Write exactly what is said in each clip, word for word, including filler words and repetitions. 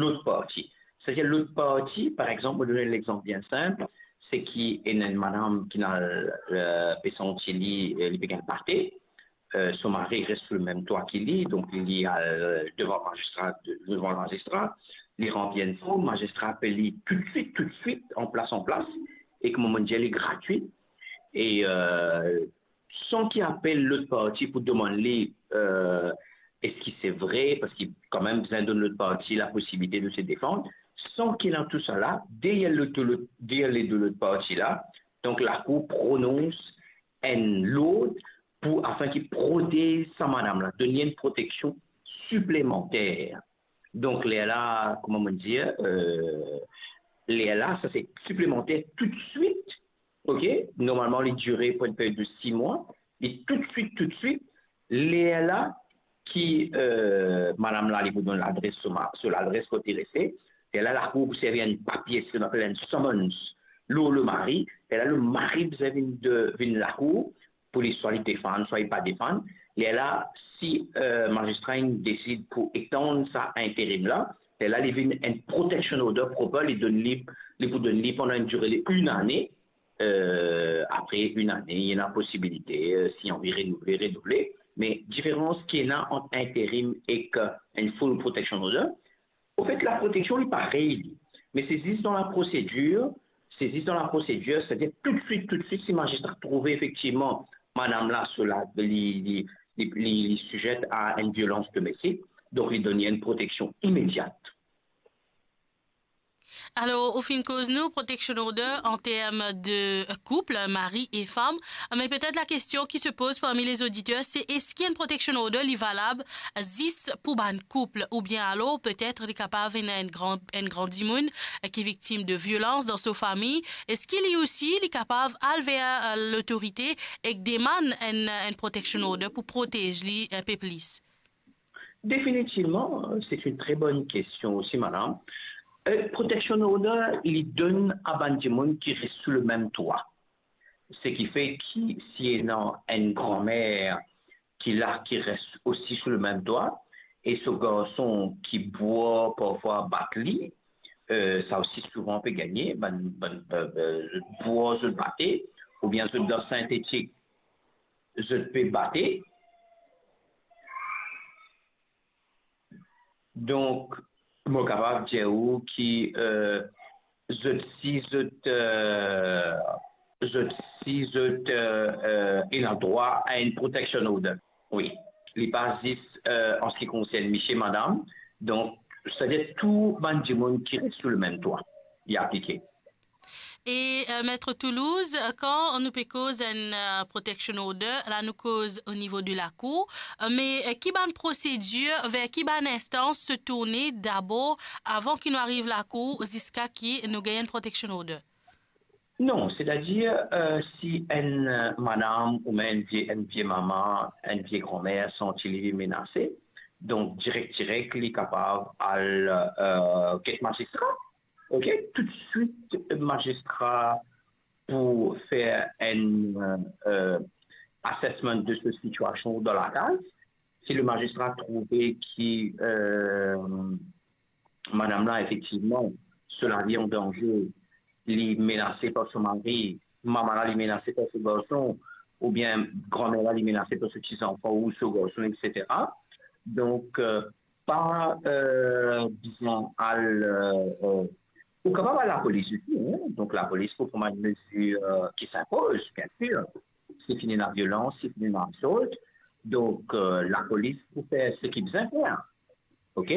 lot parti. Setadir lot parti, par exanp, mo donn enn lexanp bien sinp, se ki ena enn madam ki ena, eh, pe santi li, eh, li pe gagn bate, eh, so mari res sou lemem twa ki li, donk li al, eh, devan mazistra, de-, devan mazistra, li ranpli enn form, mazistra apel li toutswit, toutswit, an plas, an plas, e kouma mo dir li gratwi, e, eh, san ki apel lot parti pou demann li, eh, eski se vre, parski kanmem bizin donn lot parti laposibilite de se defann, san ki ena tousala, deryer lot, lot, deryer ledo lot parti la, donk lakour pronons enn lord pou, afin ki protez sa madam la, donn li enn proteksion siplemanter. Donk, lerla, kouma mo dir, eh, lerla, sa se siplemanter toutswit, ok? Normalman, li dire pou enn period de sis mwa, li toutswit, toutswit, lerla ki, eh, madam la, li pou donn ladres, so ma-, so ladres kot li reste, lerla lakour pou servi enn papie, seki nou apel enn summons, lor lemari, lerla lemari bizin vinn de, vinn lakour, pou li swa li defann, swa li pa defann. Lerla, si, eh, mazistra inn desid pou etann sa interim la, lerla li vinn enn protection order proper, li donn li, li pou donn li pandan enn dire li enn ane, eh, apre enn ane, ena posibilite, eh, si anvi renouvle, renouvle. Me diferans ki ena ant interim ek enn full protection order, anfet, laproteksion, li parey, li. Me se zis dan laprosedir, se zis dan laprosedir, setadir toutswit, toutswit, si mazistra trouve efektivman madam la, so la, li, li, li, li, li size a enn violans domestik, donk li donn li enn proteksion imediat. Alor, ou finn koz nou protection order an term de koup, mari e fam, me petet lakestion ki se poz parmi lezoditer, se eski enn protection order li valab zis pou bann koup, oubien alor petet li kapav ena enn gran, enn gran dimoun, eh, ki viktim de violans dan so fami, eski li osi li kapav al ver, eh, lotorite ek demann enn, enn protection order pou protez li enn pe plis? Definitivman, se enn tre bonn kestion osi, madam. Eh, protection order, li donn a bann dimoun ki res sou lemem twa. Seki fer ki si ena enn granmer ki la, ki res osi sou lemem twa, e so garson ki bwar, parfwa bat li, eh, sa osi souvan pe gagne, bann, bann, eh, eh, bwar zot bate, oubien zot dan sintetik, zot pe bate. Donk, mo kapav dir ou ki, eh, zot, si zot, eh, zot, si zot, eh, eh, ena drwa a enn protection order. Wi, li pa zis, eh, an se ki konsern misie, madam. Donk, setadir tou bann dimoun ki res sou lemem twa, li aplike. E, eh, Maître Toulouse, kan nou pe koz enn, eh, protection order, la nou koz o nivo de lakour, eh, me, eh, ki bann prosedir, ver ki bann instans se tourne dabor avan ki nou ariv lakour, ziska ki nou gagn enn protection order? Non, setadir, eh, si enn, eh, madam oubien enn vie, enn vie mama, enn vie granmer santi li menase, donk direk, direk, li kapav al, eh, get mazistra. Ok, toutswit, mazistra pou fer enn, eh, assessment de so sitiasion dan lakaz. Si lemazistra trouve ki, eh, madam la, efektivman, so lavi an danze, li menase par so mari, mama la, li menase par so garson, oubien granmer la, li menase par so ti zanfan ou so garson, et cetera. Donk, eh, pa, eh, bizin al, eh, eh, ou kapav al lapolis osi, hein. Donk, lapolis pou pran bann mezir, eh, ki sinpoz, bien sir. Si finn ena violans, si finn ena assault, donk, eh, lapolis pou fer seki bizin fer. Ok?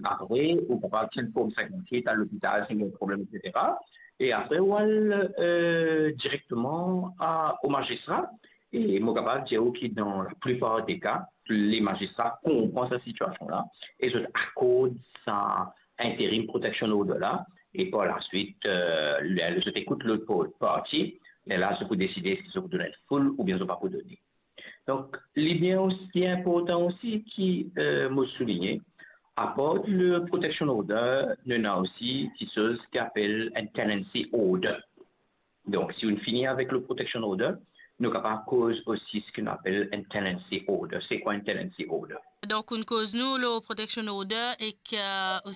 Apre, ou kapav tir form sinkant-wit, al lopital, si ena problem, et cetera. E apre, ou al, eh, direkteman a, o mazistra. E mo kapav dir ou ki dan laplipar de ka, lemazistra konpran sa sitiasion la e zot akord sa interim protection order la, e par laswit, eh, le, zot ekout lot par-, parti, lerla zot pou deside si zot pou donn enn full oubien zot pa pou donn li. Donk, li bien osi inportan osi ki, eh, mo souligne, apar le protection order, nou ena osi kiksoz ki apel enn tenancy order. Donk, si nou fini avek le protection order, nou kapav koz osi seki nou apel enn tenancy order. Se kwa enn tenancy order? Donk, ou koz nou lor protection order ek, eh,